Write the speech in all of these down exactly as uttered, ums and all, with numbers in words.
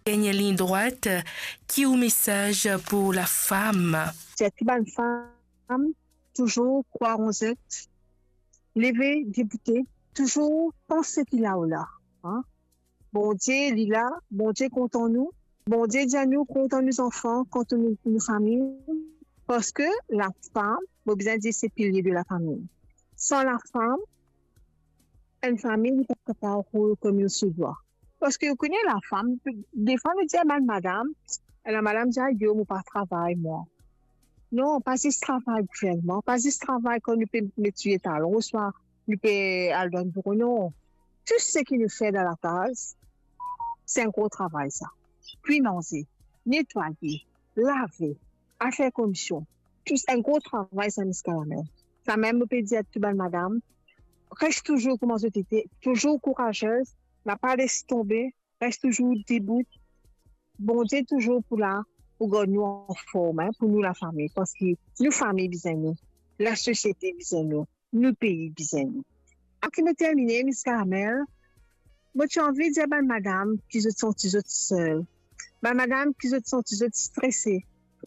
dernie lign drwat, ki ou mesaz pou lafam? Dir tou bann fam, touzour krwar an zot, leve, deboute, touzour panse ki la ou la, an? Bondie, li la, Bondie kontan nou. Bondie dir nou kontan nou zanfan, kontan nou, nou fami, parski lafam, mo bizin dir, se pilie de lafami. San lafam, enn fami, li pa kapav roul kouma se dwa. Parski ou kone lafam, defwa nou dir bann madam, ena madam dir, "Ayo, mo pa travay, mwa." Non, pa zis travay gouverneman, pa zis travay kan nou pe met soulie talon, ouswa nou pe al dan biro, non. Tou seki nou fer dan lakaz, se enn gro travay sa. Kwi manze, netwaye, lave, al fer komision, tou enn gro travay sa, Miss Karamel. Samem mo pe dir tou bann madam, res touzour kouma zot ete, touzour kourazez, napa les tonbe, res touzour debout. Bondie touzour pou la, pou gard nou anform, en, pou nou lafami, parski nou fami bizin nou, lasosiete bizin nou, nou pei bizin nou. Avan ki mo termine, Miss Karamel, mo ti anvi dir bann madam ki zot santi zot sel, bann madam ki zot santi zot strese,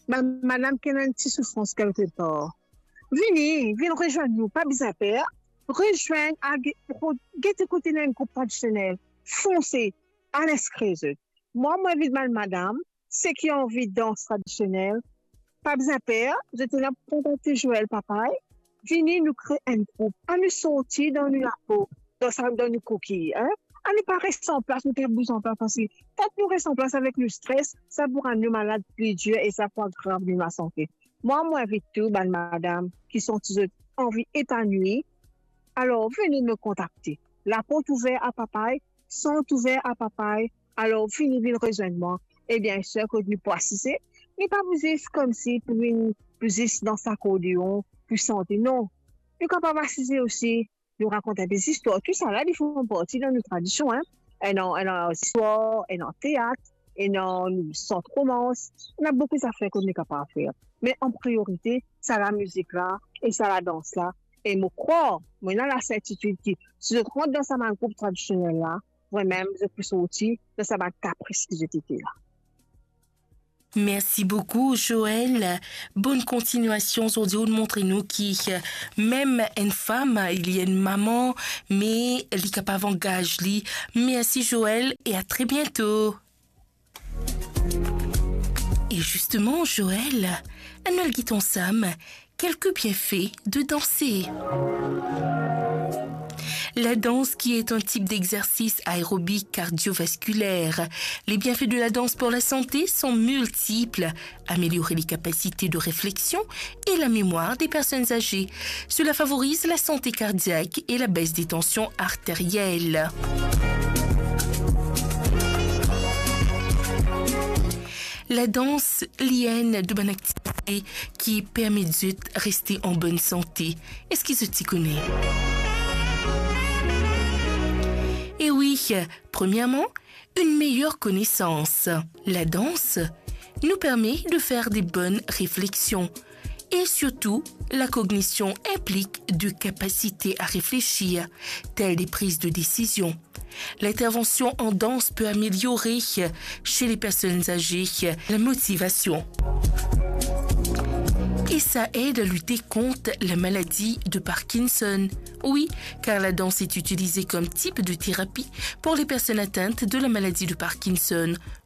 bann madam ki ena enn ti soufrans kelkepar, vini, vinn rezwenn nou, pa bizin per, rezwenn, al ge-, gete kot ena enn group tradisionel, fonse, al inskrir zot. Mwa, mo invit bann madam, seki anvi dans tradisionel, pa bizin per, zot ena kontakte Joël Papay, vini nou kre enn group, anou sorti dan nou lapo, dan sa, dan nou kokiy, en? Anou pa res an plas, nou pa bouz an plas, parski kan nou res an plas avek nou stres, sa pou rann nou malad pli dir e sa pou agrav nou lasante. Mwa, mo invit tou bann madam ki santi zot anvi epanwi, alor vini nou kontakte. Laport ouver a Papay, sant ouver a Papay, alor vini, vinn rezwenn mwa. E bien sir, kot nou pou asize, nou pa pou zis koumsi pou vinn, pou zis dans akordeon, pou sante, non. Nou kapav asize osi, nou rakont enn pe zistwar, tousala li fer parti dan nou tradision, en. Ena, ena zistwar, ena teat, ena nou sant romans, ena boukou zafer kot nou kapav fer. Me an priorite, sa lamizik la e sa ladans la. E mo krwar, mo ena lasertitid ki si zot rant dan sa bann group tradisionel la, vremem zot pou sorti dan sa bann kapris ki zot ete la. Merci beaucoup, Joël. Bonne continuation. Zordi, ou montre nou ki, euh, mem enn fam, li enn mama, me li kapav angaz li. Merci, Joël, et à très bientôt. Et justement, Joël, ann al get ansam quelques bienfaits de danser. La danse, qui est un type d'exercice aérobie cardiovasculaire. Les bienfaits de la danse pour la santé sont multiples. Améliorer les capacités de réflexion et la mémoire des personnes âgées. Cela favorise la santé cardiaque et la baisse des tensions artérielles. La dans, li enn de bann aktivite ki permet zot reste an bonn sante. Eski zot ti kone? E wi, premièrement, une meilleure connaissance. La danse nous permet de faire des bonnes réflexions. Et surtout, la cognition implique de capacités à réfléchir, telles des prises de décision. L'intervention en danse peut améliorer, chez les personnes âgées, la motivation. Et ça aide à lutter contre la maladie de Parkinson. Oui, car la danse est utilisée comme type de thérapie pour les personnes atteintes de la maladie de Parkinson.